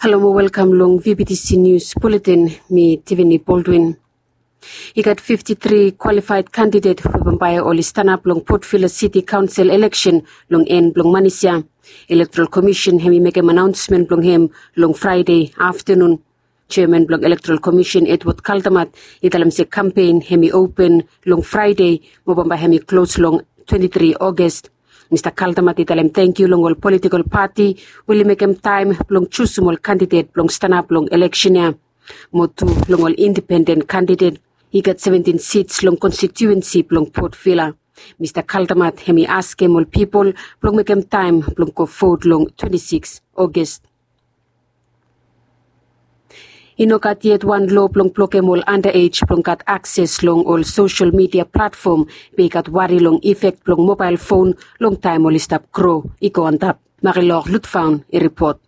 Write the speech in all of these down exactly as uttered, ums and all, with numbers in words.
Halo mo welkam long V B T C News Bulletin. Mi Tiffany Baldwin. I gat fifti tri kwalifaed kandidet we bambae oli stanap long Port Vila City Council eleksen long en blong manis ya. Electoral Commission hemi mekem anaonsmen blong hem long Fraede aftenun. Jeaman blong Electoral Commission Edward Kaldamat i talem se kampen hemi open long Fraede mo bambae hemi klos long twenti tri August. Mista Kaldamat i talem tangkiu long ol politikol pati we oli mekem taem blong jusum ol kandidet blong stanap long eleksen ya. Mo tu long ol indipenden kandidet. I gat seventin sits long konstitiuensi blong Port Vila. Mista Kaldamat hemi askem ol pipol blong mekem taem blong go vot long twenti siks August. I no gat yet wan loa blong blokem ol andaej blong gat akses long ol sosel midia platfom be i gat wari long ifek blong mobael fon long taem oli stap gro i go antap. Marilor Lutfaun i ripot.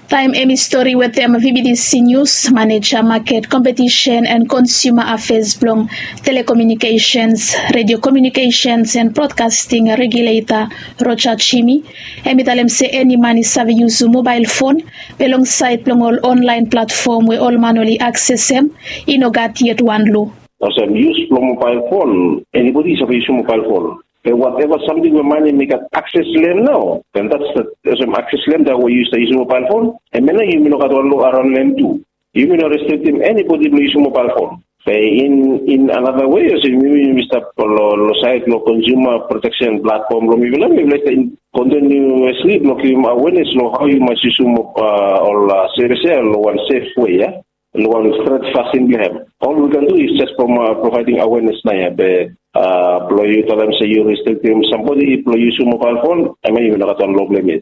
Taem hemi stori wetem V B T C News, maneja maket, kompetisen and konsuma afeas blong telekomunikesens, redio komunikesens and brodkasting regileta Roja Jimi, hemi talem se eni man i save yusum mobael fon be long saed blong ol onlaen platfom we ol man oli aksesem, i no gat yet wan loa. Olsem yus blong mobael fon, enibodi i save yusum mobael fon. Be wateva samting we man hemi gat akses long hem nao, then that's the olsem akses long hem, that we yus yusum mobael fon. Hemia nao yumi no gat wan loa araon long hem tu. Yumi no restriktem enibodi blong yusum mobael fon. Be in in another way, olsem yumi yumi stap long long saed long konsuma proteksen platfom blong mifala, mifala i stap kontinuesli blong givim awenes long hao yu mas yusum ol sevis ya long wan sef wei ya, long wan stret fasin blong hem. Ol we yu kan du is jes from provaeding awenes nao ya, be blong yu talem se yu restriktem sambodi blong yusum mobael fon, hemia yumi no gat wan loa blong hem yet.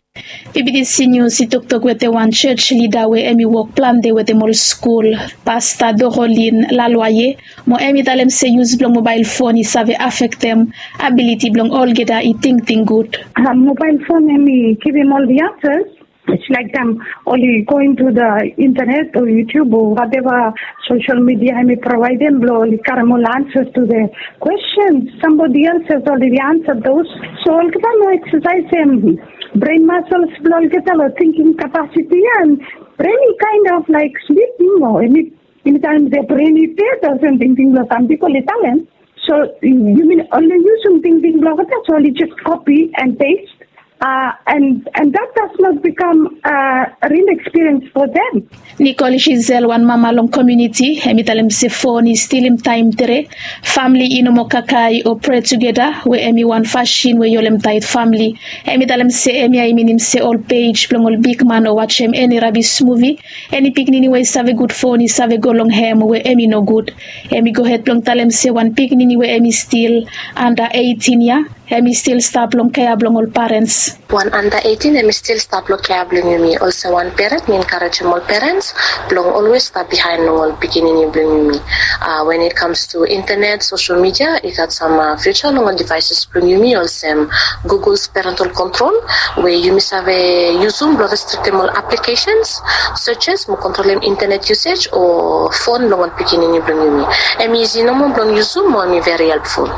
V B T C News i toktok wetem wan jos lida we hemi wok plante wetem ol skul, Pasta Dorolin Lalwaye, mo hemi talem se yus blong mobael fon i save afektem abiliti blong olgeta i tingting gud. Mobael fon hemi givim ol the answers. It's like them only going to the internet or YouTube or whatever social media hemi provaedem blong oli karem ol answers to the questions. Somebody else has already answered those. So olgeta no eksasaesem brain muscles blong olgeta long thinking capacity and brain i kind of like sleeping or any anytime the brain i dead or something, thing blong some people i talem. So yumi only yusum tingting blong olgeta, so oli just copy and paste, uh, and and that does not become a real experience for them. Nicole Giselle, wan mama long komuniti, hemi talem se fon i stilim taem tre. Famle i no moa kakae o prea tugeta, we hemi wan fasin we i holem taet famle. Hemi talem se hemia i minim se ol pej blong ol bigman o wajem eni rabis muvi, eni pikinini we i save gud fon i save go long hem we hemi nogud. Hemi gohed blong talem se wan pikinini we hemi stil anda eitin ya, hemi stil stap long kea blong ol parens. Wan anda eitin hemi stil stap long kea blong yumi. Olsem wan peren, mi enkarejem ol parens blong olwes stap bihaen long ol pikinini blong yumi. When it comes to internet, social media, i gat sam future long ol devices blong yumi, olsem Google's parental control, we yumi save yusum blong restriktem ol applications, searches, mo kontrolem internet usage o fon blong ol pikinini blong yumi. Hemi isi nomo blong yusum mo hemi very helpful.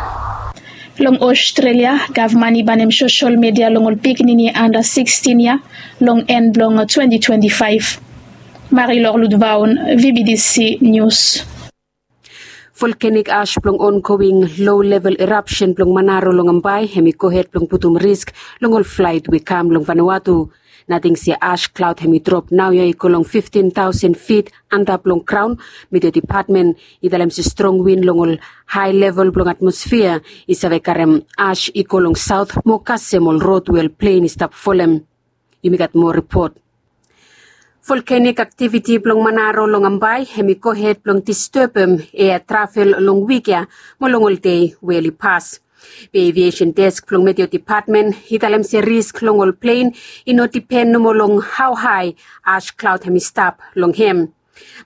Long Australia, gavman i banem social media long ol pikinini anda sikstin ya long en blong twenti twenti faef. Marilor Ludvaun, V B T C News. Volcanic ash blong ongoing low level eruption blong Manaro long Ambae hemi gohed blong putum risk long ol flaet we kam long Vanuatu. Nating se ash cloud hemi drop naoia i go long fiftin taosen fit antap long graon. Meteo depatmen i talem se strong win long ol hae level blong atmosfia i save karem ash i go long saot mo kasem ol rod we ol plen i stap folem. Yumi gat moa ripot. Volcanic activity blong Manaro long Ambae hemi gohed blong distebem ea travel long wik ya mo long ol dei we oli pas. Be aviation desk blong meteo depatmen i talem se risk long ol plen i no dipen nomo long hao hae ash cloud hemi stap long hem.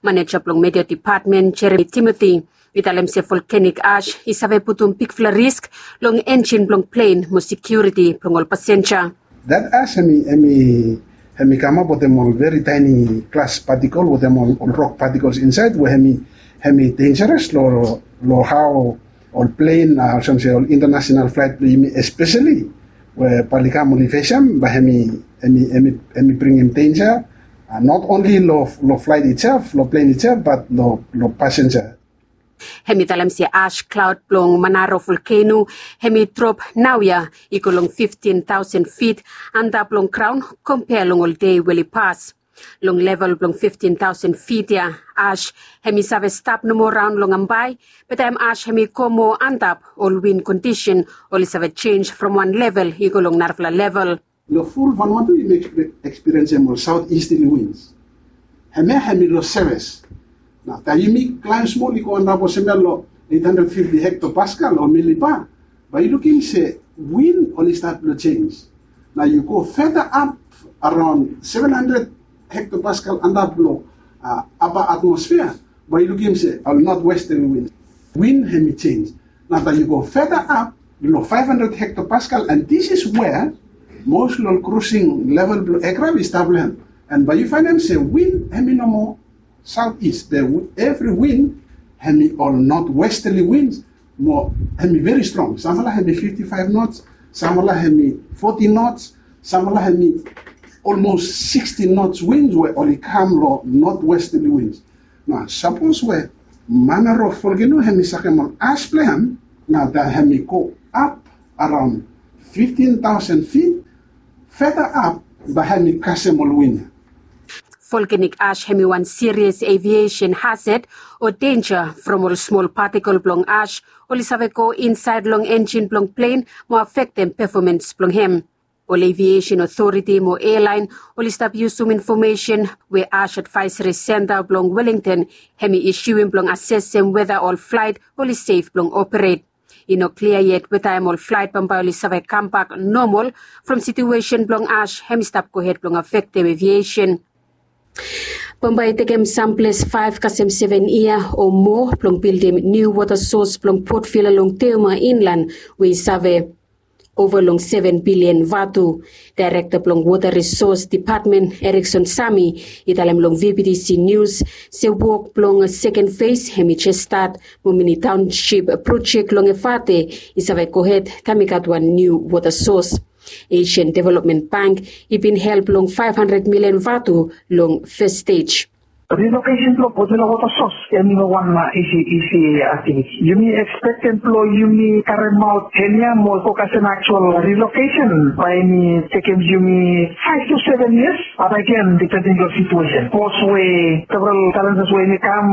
Maneja blong meteo depatmen Jeremy Timothy i talem se volcanic ash i save putum bigfala risk long enjin blong plen mo sekiuriti blong ol pasenja. That ash hemi hemi hemi kamap wetem ol very tiny glass particle wetem ol rok particles insaed we hemi hemi dangeros long long hao ol plen, olsem se ol international flaet blong yumi espeseli we bae oli kam oli fesem bae hemi hemi hemi bringim denja. Not only long, long flight itself, long plane itself, but long, long passenger. Hem i talem se ash cloud blong Manaro volcano hem i drop naoia i go long fifteen thousand feet antap long graon, kompea long ol dei we oli pas. Long level blong fifteen thousand feet ia, ash hem i save stap nomo raon long Ambae, be taem ash hem i go moa antap, ol win kondisen oli save jenj from wan level i go long narafala level. Long ful Vanuatu yumi ekspiriensim ol southeasterly winds. Hemia hem i long seves. Nao taem yumi klaem smol i go antap olsem ia long eight hundred fifty hectopascal o milibar, bae yu lukim se win oli stat blong jenj. Nao yu go further up around seven hundred hectopascal antap long upper atmosphere, bae yu lukim se ol northwesterly win. Win hem i jenj. Nao taem yu go further up long five hundred hectopascal, and this is where most long ol cruising level blong aircraft i stap long hem. And bae yu faenem se win hem i nomo southeast. Be evri win hem i ol northwesterly winds, mo hem i very strong. Samfala hem i fifty-five knots, samfala hem i forty knots, samfala hem i almost sixty knots winds we oli kam long northwesterly winds. Nao sapos we Manaro volcano hem i sakem ol ash blong hem, nao taem hem i go ap around fifteen thousand feet, further up, bae hem i kasem ol win ia. Volcanic ash hem i wan serious aviation hazard o denja from ol smol particle blong ash oli save go insaed long enjin blong plane mo afektem performance blong hem. Ol aviation authority mo airline oli stap yusum infomesen we ash advisory center blong Wellington hem i isiuim blong asesem weta ol flaet oli sef blong operet. I no klia yet wetaem ol flaet bambae oli save kambak nomol from situesen blong ash hem i stap gohed blong afektem aviation. Bambae i tekem samples faef kasem seven yia o moa blong bildim niu wota sos blong Port Vila long Teuma inlan, we i save ova long seven bilian vatu. Daerekta blong Wota Risos Depatmen, Erickson Sami, i talem long V B T C News se wok blong seken fes hem i jes stat, mo many township projek long Efate i save gohed taem i gat wan niu wota sos. Asian Development Bank i bin help long five hundred million vatu long fes stej. Relocation blong Port Vila wota sos hem i no wan isi, isi aktiviti. Yumi ekspektem blong yumi karemaot hem ia mo go kasem aktual relocation, bae hem i tekem yumi five to seven years. But again, depending long situesen. Sapos we several challenges we hem i kam,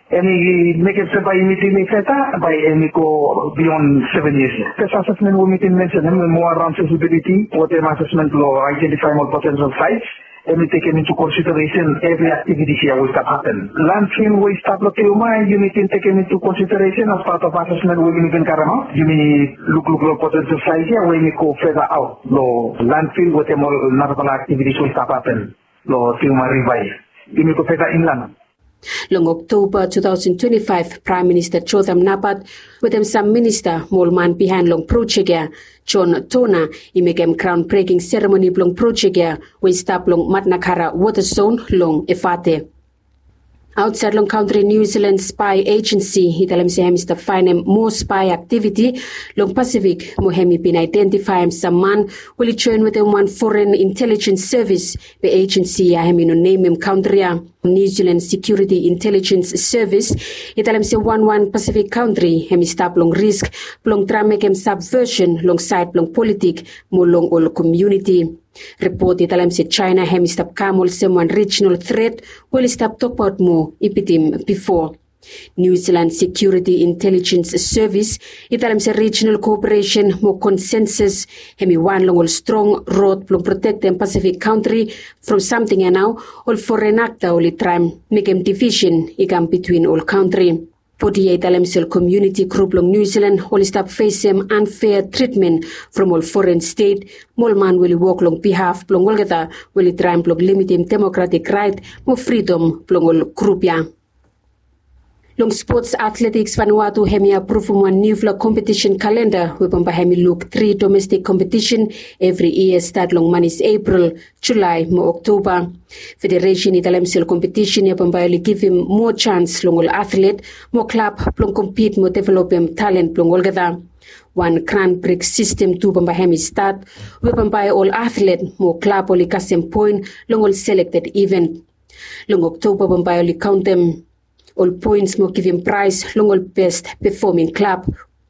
hem i mekem se bae yumi delay further, bae hem i go beyond seven years ia. Fes asesmen we mi bin mensenem hem i moa around feasibility, wetem asesmen blong identifaem ol potential sites. Hem i tekem into consideration evri aktivitis ia we i stap hapen. Landfill we i stap long Teuma, yumi bin tekem into consideration as part of asesmen we yumi bin karemaot. Yumi lukluk long potential sites ia we yumi go further out long landfill wetem ol narafala aktivitis we i stap hapen long Teuma Riva ia. Yumi go further inland. Long Oktoba two thousand twenty-five, Praem Minista Jotham Napat wetem sam minista mo ol man bihaen long projek ia, John Tona, i mekem graon breking seremoni blong projek ia we i stap long Matnakara wota zon long Efate. Aotsaed long kantri, Niu Silan spae ejensi i talem se hem i stap faenem moa spae aktiviti long Pasifik, mo hem i bin aedentifaem sam man we oli joen wetem wan foren intelijens sevis, be ejensi ia hem i no nemem kantri ia. Niu Silan Security Intelligence Service i talem se wanwan Pasifik kantri hem i stap long risk blong traem mekem subversion long saed blong politik mo long ol komuniti. Ripot i talem se Jaena hem i stap kam olsem wan rijinal tret we oli stap tokbaot moa i bitim bifo. Niu Silan Security Intelligence Service i talem se rijinal koperesen mo konsensus hem i wan long ol strong rod blong protektem Pasifik kantri from samting ia nao ol foren akta oli traem mekem divisen i kam bitwin ol kantri. Bodi ia i talem se ol komuniti grup long Niu Silan oli stap fesem anfea tritmen from ol foren stet mo ol man we oli wok long bihaf blong olgeta we oli traem blong limitim demokratik raet mo fridom blong ol grup ia. Long spots, Athletics Vanuatu hem i apruvum wan niufala kompetisen kalenda we bambae hem i luk tri domestik kompetisen evri yia, stat long manis Epril, Julae mo Oktoba. Federesen i talem se ol kompetisen ia bambae oli givim moa jans long ol atlet mo klab blong kompit mo developem talen blong olgeta. Wan Grand Prix sistem tu bambae hem i stat, we bambae ol atlet mo klab oli kasem poen long ol selekted iven. Long Oktoba bambae oli kaontem ol poens mo givim praes long ol best pefoming klab.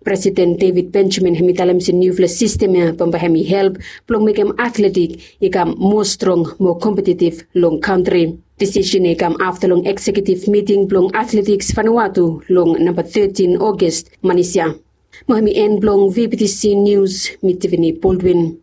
Presiden David Benjamin hem i talem se niufala sistem ya bambae hem i help blong mekem atletik i kam moa strong mo kompetitiv long kantri. Disisen ya i kam afta long eksekiutiv miting blong atletiks Vanuatu long namba tetin Ogos manis ya. Mo hem i en blong VBTC Nius, mi Tiffany Baldwin.